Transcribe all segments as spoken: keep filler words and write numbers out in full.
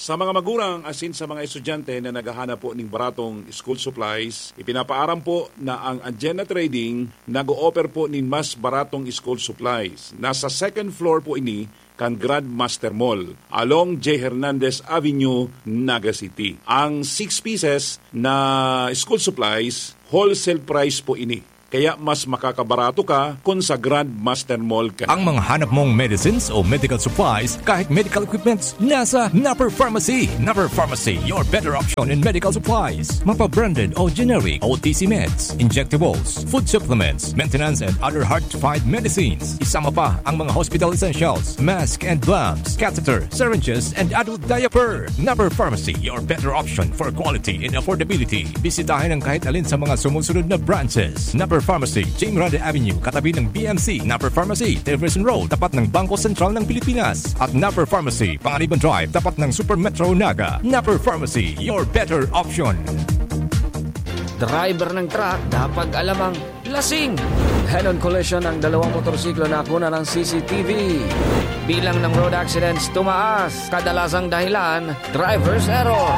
Sa mga magurang asin sa mga estudyante na naghahanap po ning baratong school supplies, ipinapaaram po na ang Agenda Trading nag-o-offer po nin mas baratong school supplies. Nasa second floor po ini kan Grandmaster Mall, along J Hernandez Avenue, Naga City. Ang six pieces na school supplies, wholesale price po ini. Kaya mas makakabarato ka kun sa Grandmaster Mall ka. Ang mga hanap mong medicines o medical supplies, kahit medical equipments, nasa Napper Pharmacy. Napper Pharmacy, your better option in medical supplies. Mapa-branded o generic, O T C meds, injectables, food supplements, maintenance and other hard-to-find medicines. Isama pa ang mga hospital essentials, mask and gloves, catheter, syringes, and adult diaper. Napper Pharmacy, your better option for quality and affordability. Bisitahin ang kahit alin sa mga sumusunod na branches: Napper Pharmacy, Jing Grande Avenue, katabi ng B M C, Napper Pharmacy, Jefferson Road, tapat ng Bangko Sentral ng Pilipinas, at Napper Pharmacy, Panganiban Drive, tapat ng Super Metro Naga. Napper Pharmacy, your better option. Driver ng truck, dapat alam ang lasing. Head-on collision ng dalawang motorsiklo na nakuna ng C C T V. Bilang ng road accidents tumaas. Kadalasang dahilan, driver's error.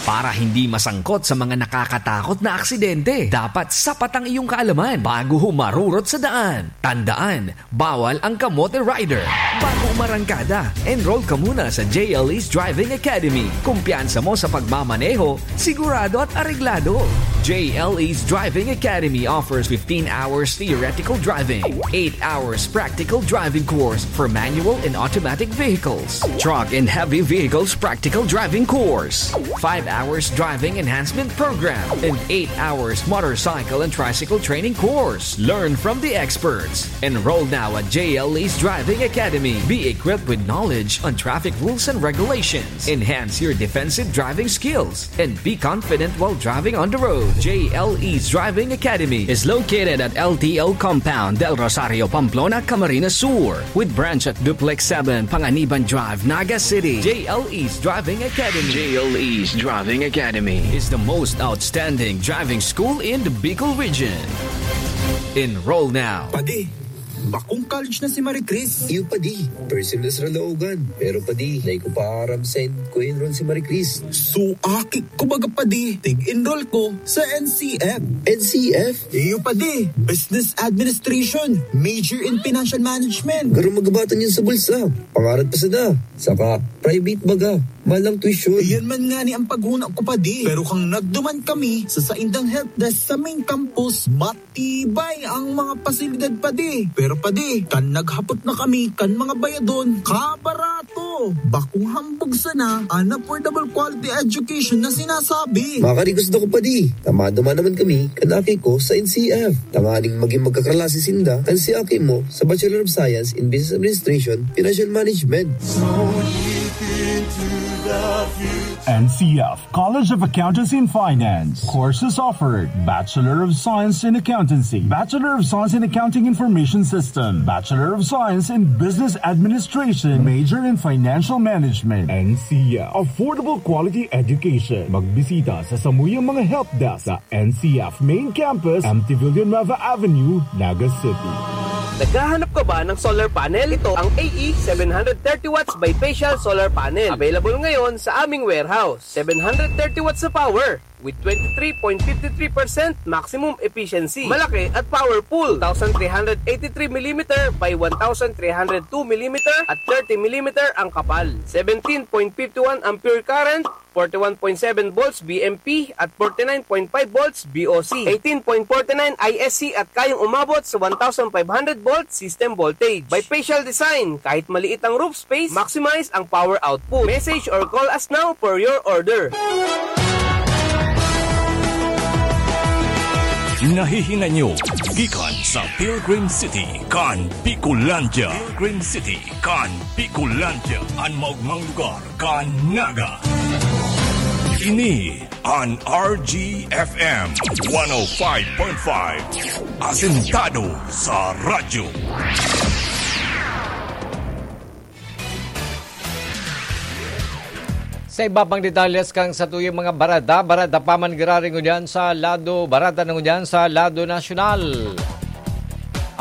Para hindi masangkot sa mga nakakatakot na aksidente, dapat sapat ang iyong kaalaman bago humarurot sa daan. Tandaan, bawal ang kamote rider. Bago umarangkada, enroll ka muna sa J L E's Driving Academy. Kumpiyansa mo sa pagmamaneho, sigurado at areglado. J L E's Driving Academy offers fifteen hours theoretical driving, eight hours practical driving course for manual and automatic vehicles, truck and heavy vehicles practical driving course, five hours driving enhancement program, and eight hours motorcycle and tricycle training course. Learn from the experts. Enroll now at J L E's Driving Academy. Be equipped with knowledge on traffic rules and regulations. Enhance your defensive driving skills and be confident while driving on the road. J L E's Driving Academy is located at L T O Compound, Del Rosario, Pamplona, Camarines Sur, with branch at Duplex seven, Panganiban Drive, Naga City. J L E's Driving Academy. J L E's Driving Academy is the most outstanding driving school in the Bicol region. Enroll now. Padi, bakong college na si Marie Chris. Iyo, padi. First semester na laogan. Pero, padi, dai ko pa aram saen ko enroll si Marie Chris. So, aki ko baga, padi. Tig-enroll ko sa N C F. N C F? Iyo, padi. Business Administration. Major in Financial Management. Garo magabatan yun sa bulsa. Pangarap pa sana. Saka, private baga. Mahal ang tuition. Iyan man ngani ang paghuna ko, padi. Pero kan nagduman kami sa saindang help desk sa main campus, matibay ang mga pasilidad, padi. Pero, padi, kan naghapot na kami kan mga bayadon, kabarato. Bakong hambog sana an affordable quality education na sinasabi. Makarigos na ko, padi. Tama naman naman kami kan aki ko sa N C F. Tanganing magin magkaklase sinda kan si aki mo sa Bachelor of Science in Business Administration, Financial Management. N C F College of Accountancy and Finance. Courses offered: Bachelor of Science in Accountancy, Bachelor of Science in Accounting Information System, Bachelor of Science in Business Administration, major in Financial Management. N C F, affordable quality education. Magbisita sa samuyang mga help desk sa N C F Main Campus, M T Villanueva Avenue, Naga City. Naghahanap ka ba ng solar panel? Ito ang A E seven hundred thirty watts bifacial solar panel. Available ngayon sa aming warehouse. Seven hundred thirty watts na power with twenty-three point five three percent maximum efficiency. Malaki at powerful. Two thousand three hundred eighty-three millimeter by one thousand three hundred two millimeter at thirty millimeter ang kapal. Seventeen point five one ampere current, forty-one point seven volts V M P at forty-nine point five volts V O C, eighteen point forty-nine I S C at kayang umabot sa one thousand five hundred volt system voltage. Bifacial design, kahit maliit ang roof space, maximize ang power output. Message or call us now for your order. Nahihinan nyo gikan sa Pilgrim City kan Bicolandia. Pilgrim City kan Bicolandia, an maogmang lugar kan Naga. Ini an R G F M one oh five point five, asentado sa radyo. Sa iba pang detalles kan satuyang mga barada, barada pa man giraray ngunyan sa lado, barada na ngunyan sa lado nasyonal.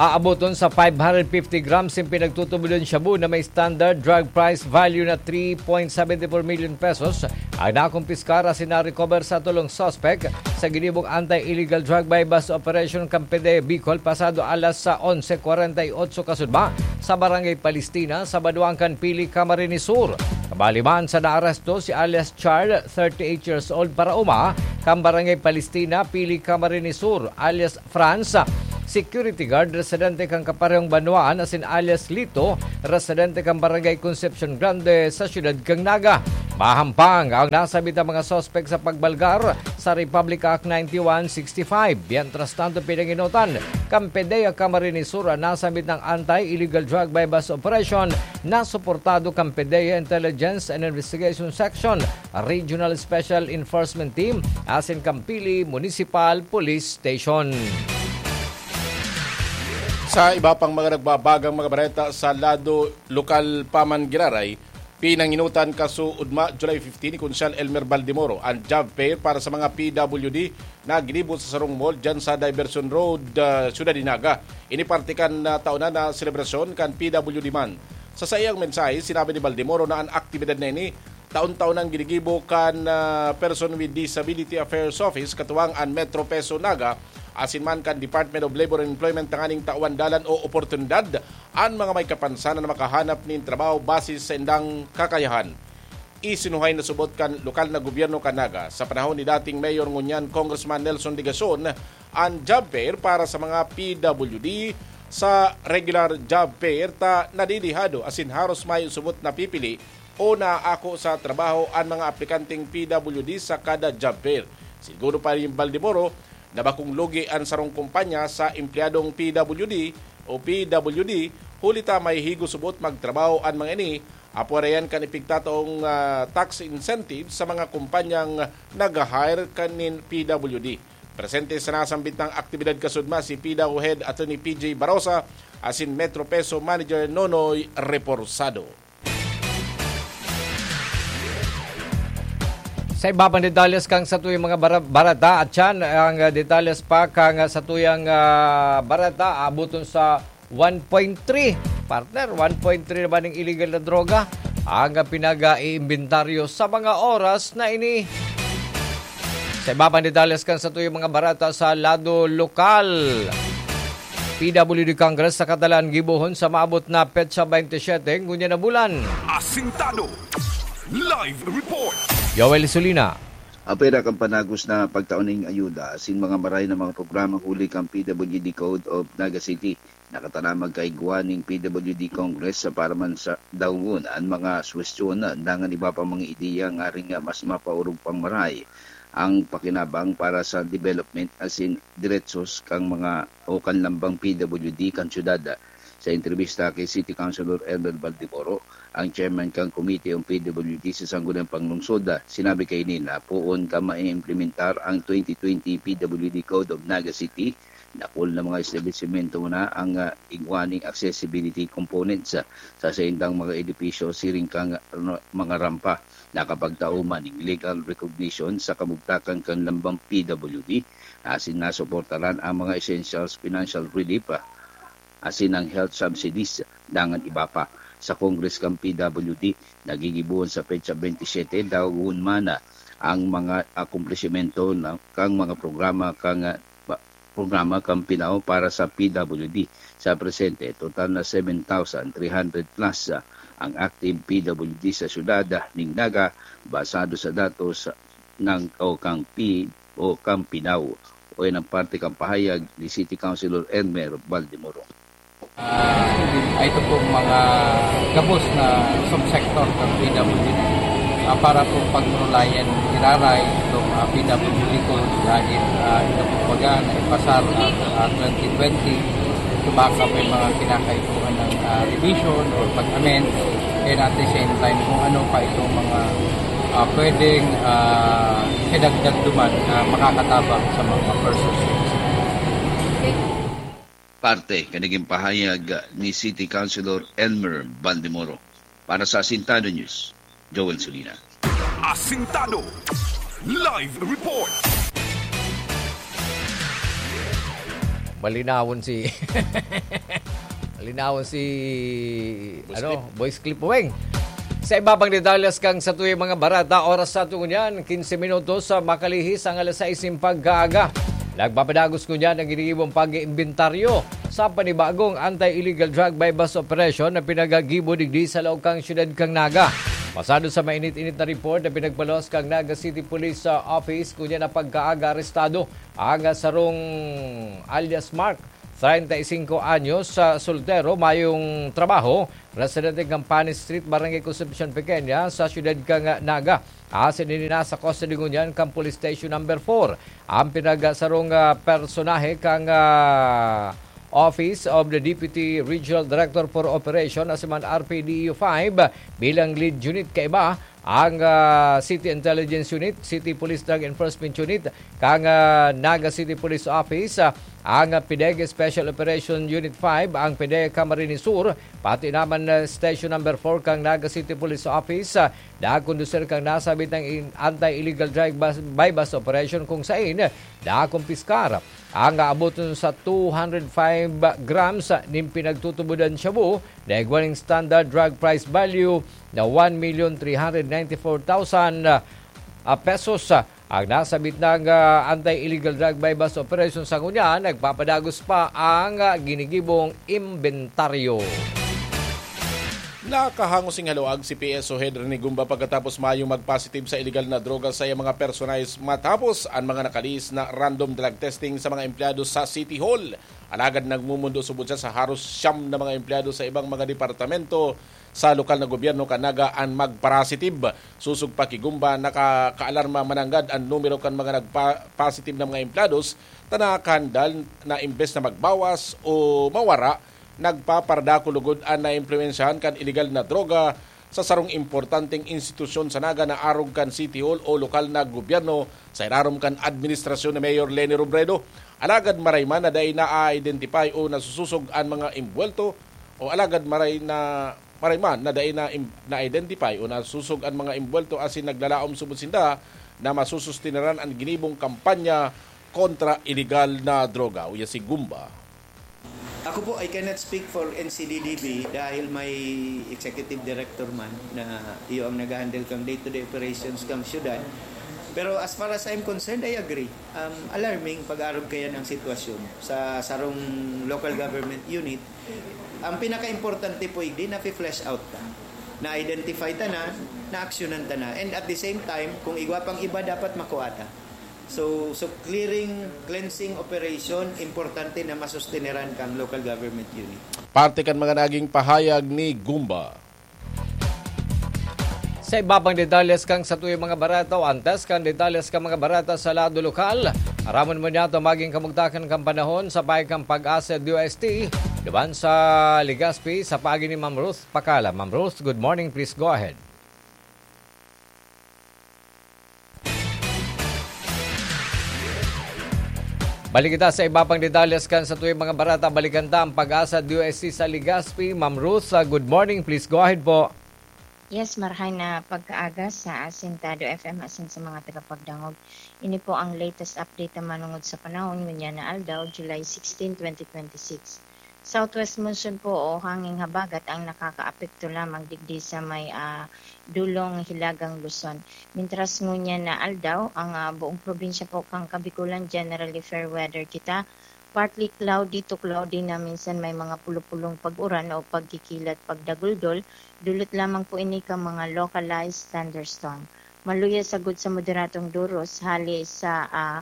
Aaboton sa five hundred fifty grams in pinagtutubod na shabu na may standard drug price value na three point seven four million pesos ang nakumpiskar asin na-recover sa tolong suspek sa ginibong anti-illegal drug buy-bust operation kan PDEA Bicol pasado alas sa onse kwarenta y otso kasudma sa Barangay Palestina sa banwaan kan Pili, Camarines Sur. Kabali man sa naaresto si alias Char, thirty-eight years old, paraoma kan Barangay Palestina, Pili, Camarines Sur, alias Franz, security guard, residente kan kaparehong banwaan, asin alias Lito, residente kan Barangay Concepcion Grande sa siyudad kan Naga. Mahampang ang nasabit na mga suspek sa pagbalgar sa Republic Act ninety-one sixty-five. Mientras tanto, pinanginotan kan PDEA Camarines Sur ang nasabit na anti-illegal drug buy-bust operation na suportado kan PDEA Intelligence and Investigation Section, Regional Special Enforcement Team, asin kan Pili Municipal Police Station. Sa iba pang mga nagbabagang mga bareta sa lado lokal pa man giraray, pinanginotan kasuodma, July fifteen, ni Konsehal Elmer Baldemoro ang job fair para sa mga P W D na ginibo sa sarong mall dyan sa Diversion Road, ah, Ciudad de Naga. Ini parte kan, ah, taon na na selebrasyon kan P W D man. Sa saiyang mensahe, sinabi ni Baldemoro na an aktibidad na ini taon-taon nang ginigibo kan, ah, Person with Disability Affairs Office, katuwang an Metro Peso Naga, asin man kan Department of Labor and Employment tanganing tawan dalan o oportunidad an mga may kapansanan na makahanap nin trabaho base sa indang kakayahan. Isinuhay na subot kan lokal na gobyerno kan Naga sa panahon ni dating mayor ngunyan Congressman Nelson Legacion an job fair para sa mga P W D. Sa regular job fair ta nadidihado asin haros mayo subot napipili o naaako sa trabaho an mga aplikanteng P W D sa kada job fair. Siguro pa rin Baldemoro na bakong lugi an sarong kumpanya sa empleyadong P W D o P W D, huli ta may higo subot magtrabaho an mga ini, apwera iyan kan ipigtataong, ah, tax incentive sa mga kumpanyang nag-hire kan nin P W D. Presente sa nasambit na aktibidad kasudma si P W D Head Attorney P J Barosa asin Metro Peso Manager Nonoy Reporsado. Sa iba pang detalles kan satuyang mga bara-, bareta, at yan ang, ah, detalles pa kan, ah, satuyang, ah, bareta, abuton sa one point three. Partner, one point three na ba ning illegal na droga ang, ah, pinag-iimbentaryo sa mga oras na ini? Sa iba pang detalles kan satuyang mga bareta sa lado lokal, P W D Congress sa Catalan gibohon sa maabot na petsa twenty-seven ngunyan na bulan. Asintado. Live report. Joel Solina. Apwera kan panagos na pagtao ning ayuda asin mga maray na mga programa huli kan P W D Code of Naga City, nakatanamag kaigwa ning P W D Congress para man sa daungon an mga suwestiyon dangan iba pang mga ideya ngaring mas mapaorog pang maray ang pakinabang para sa development asin diretsos kan mga o kan lambang P W D kan syudad. Sa entrebista ki City Councilor Elmer Baldemoro, ang chairman kan komite kan P W D sa Sangguniang Panglungsod, sinabi kaini na poon kan maiimplementar ang twenty twenty P W D Code of Naga City, dakul na mga establisimento na ang, ah, igwa ning accessibility components, ah, sa saindang mga edipisyo siring kan, ano, mga rampa. Nakapagtao man ning legal recognition sa kabugtakan kan lambang P W D, asin nasuportaran ang mga essentials financial relief, ah, asin ang health subsidies, dangan iba pa. Sa Congress kan P W D, nagigibohon sa petsa twenty-seven, daungon man, ah, ang mga akomplisimento na, kan mga programa kan, ah, pa-, programa kan PNAO para sa P W D. Sa presente, total na seven thousand three hundred plus, ah, ang active P W D sa syudad, ah, ning Naga, basado sa datos ng, o kan P-, o kan PNAO. O yan ang parte kan pahayag ni City Councilor Elmer Baldemoro. Ah, ito pong mga gabos na subsector ng P W D, ah, para po pagmulayan iraray itong, ah, P W D Code dahil, ah, ito po baga na ipasar, ah, ah, twenty twenty, ito baka may mga kinakaipuhan ng, ah, revision or pag-amend, and at the same time kung ano pa itong mga, ah, pwedeng, ah, idagdag duman na makakatabang sa mga persons. Parte kan naging pahayag ni City Councilor Elmer Baldemoro. Para sa Asintado News, Joel Solina. Asintado Live Report. Malinawon si malinawon si Boss ano, Clip. Boys Clip Weng. Sa iba pang detalles kang sa tuwing mga barata, oras sa ato ngunyan, quince minutos sa makalihis ang alas sais nin pagkaaga. Nagpapadagos ngunyan ang ginigibong pag-iimbentaryo sa panibagong anti-illegal drug buy-bust operation na pinagagibo digdi sa laog kang siyudad kang Naga. Pasado sa mainit-init na report na pinagpalos kang Naga City Police sa Office, ngunyan na pagkaaga arestado ang sarong alias Mark, treinta y cinco anyos, sa soltero, mayong trabaho, residente kan Pani Street, Barangay Concepcion Pequeña, sa siyudad kan Naga. Asin ini nasa custody ngunyan kan Police Station Number four. Ang pinagsarong, ah, personahe kan, ah, Office of the Deputy Regional Director for Operation, asin man R P D E U five, bilang lead unit kaiba ang, ah, City Intelligence Unit, City Police Drug Enforcement Unit, kang, ah, Naga City Police Office, ah, ang, ah, PDEG Special Operation Unit five, ang PDEG Camarines Sur, pati naman, ah, Station Number four kang Naga City Police Office, ah, nagkondusir kang nasabit ng in-, anti-illegal drug bus, buy-bust operation kung sain nakumpiskar ang aaboton sa two hundred five grams nin pinagtutubodan shabu na igwa nin standard drug price value na one million three hundred ninety-four thousand, ah, pesos. Ang nasabit ng, ah, anti-illegal drug buy-bust operation sa ngunyan, nagpapadagos pa ang, ah, ginigibong imbentaryo. Nakahangos ning haluag si P S O Head Rene Gumba pagkatapos mayong magpositive sa illegal na droga sa iyang mga personahe matapos ang mga nakalihis na random drug testing sa mga empleyado sa City Hall. Alagad nagmumundo subod siya sa haros siyam na mga empleyado sa ibang mga departamento sa lokal na gobyerno kan Naga an magparasitib. Sosog pa ki Gumba, nakakaalarma mananggad an numero kan mga nagpa-, positive na mga empleyados ta nakahandal na imbes na magbawas o mawara, nagpaparadako lugod an naimpluwensyahan kan iligal na droga sa sarong importanteng institusyon sa Naga na arog kan City Hall o lokal na gobyerno sa irarom kan administrasyon ni Mayor Leni Robredo. Alagad maray man na dai na-identify o nasusosog an mga imbuwelto, o alagad maray na, maray man na dai na im-, na-identify o nasusog an mga imbuwelto asin naglalaom subod sinda na masusustineran an ginibong kampanya kontra iligal na droga. Uya si Gumba. Ako po, I cannot speak for N C D D B dahil may executive director man na iyo ang nag-handle kang day-to-day operations kang syudad. Pero as far as I'm concerned, I agree. Um, alarming pag-arog kayan ang sitwasyon sa sarong local government unit. Ang pinaka-importante po, igdi na flesh out ta. Na-identify ta na, na-actionan ta na. And at the same time, kung igwa pang iba, dapat makuha ta. So, so clearing, cleansing operation, importante na masusteneran kang local government unit. Parte kan mga naging pahayag ni Gumba. Sa iba pang detalles kang sa tuyang mga barata o antes kang detalles kang mga barata sa lado lokal, aramon mo niya ito maging kamugtakan kang panahon sa pahay kang Pag-asa D O S T, duman sa Legazpi, sa paagi ni Ma'am Ruth Pakala. Ma'am Ruth, good morning. Please go ahead. Balik kita sa iba pang detalles kan sa tuyang mga barata. Balikan ta ang Pag-asa D O S T sa Legazpi. Ma'am Ruth, ah, good morning. Please go ahead po. Yes, marhay na pagkaaga sa Asintado F M asin sa mga tagapagdangog. Ini po ang latest update na manungod sa panahon ngunyan na aldaw, July sixteen, twenty twenty-six. Southwest monsoon po o hanging habagat ang nakakaapekto lamang digdi sa may, ah, dulong hilagang Luzon. Mintras ngunyan na aldaw, ang, ah, buong probinsya po kan Kabikulan generally fair weather kita. Partly cloudy to cloudy na minsan may mga pulupulong pag-uran o pagkikilat, pagdaguldol. Dulot lamang po ini kan mga localized thunderstorm. Maluya sagkod sa moderadong duros, hali sa, ah,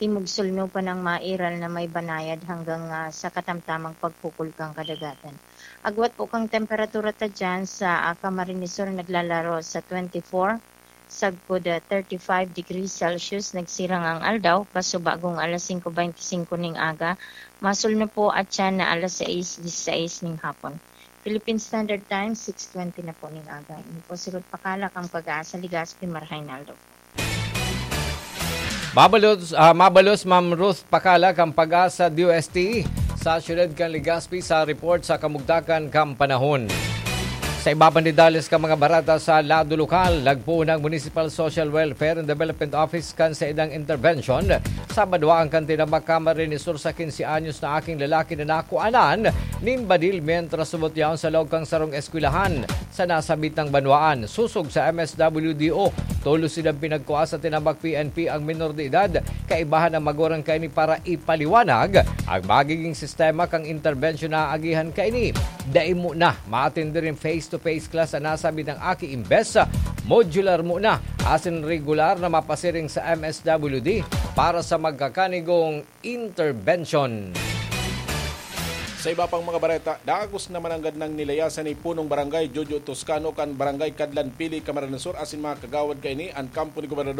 timog-sulno pa ng mairal na may banayad hanggang, ah, sa katamtamang pagkukul kan kadagatan. Agwat po kang temperatura ta dyan sa, ah, Camarines Sur naglalaro sa twenty-four, sagkod, ah, thirty-five degrees Celsius. Nagsirang ang aldaw, pasubagong alas singko beinti singko ning aga, masulno po at siya na alas sais disisais ning hapon. Philippine Standard Time, six twenty na po ning aga. Ini po si Ruth Pakala kan Pag-asa, Legazpi, marhay na aldaw. Mabalos, ah, mabalos, Ma'am Ruth Pakala kan Pag-asa D O S T sa siyudad kan Legazpi sa report sa kamugtakan kan panahon. Sa iba pang detalles kan mga bareta sa lado lokal, nagpoon ang Municipal Social Welfare and Development Office kan saindang intervention sa banwaan kan tinabak Camarines Sur sa quince anyos na aking lalaki na nakuanan nin badil mientras subot yaon sa loob kan sarong eskwelahan sa nasabitang banwaan. Sosog sa M S W D O, tolos sinda pinagkua sa tinabak P N P ang menor de edad. Kaibahan ang magurang kaini para ipaliwanag ang magiging sistema kan interbensyon na aagihan kaini. Dai mo na maatindi rin face-to-face class an nasabitang aki, imbes modular mo na asin regular na mapasiring sa M S W D para sa magkakanigong interbensyon. Sa iba pang mga bareta, dagos na mananggad nang nilayasan ni Punong Barangay Jojo Toscano kan Barangay Cadlan Pili, Camarines Sur asin mga kagawad kaini an kampo ni Gobernador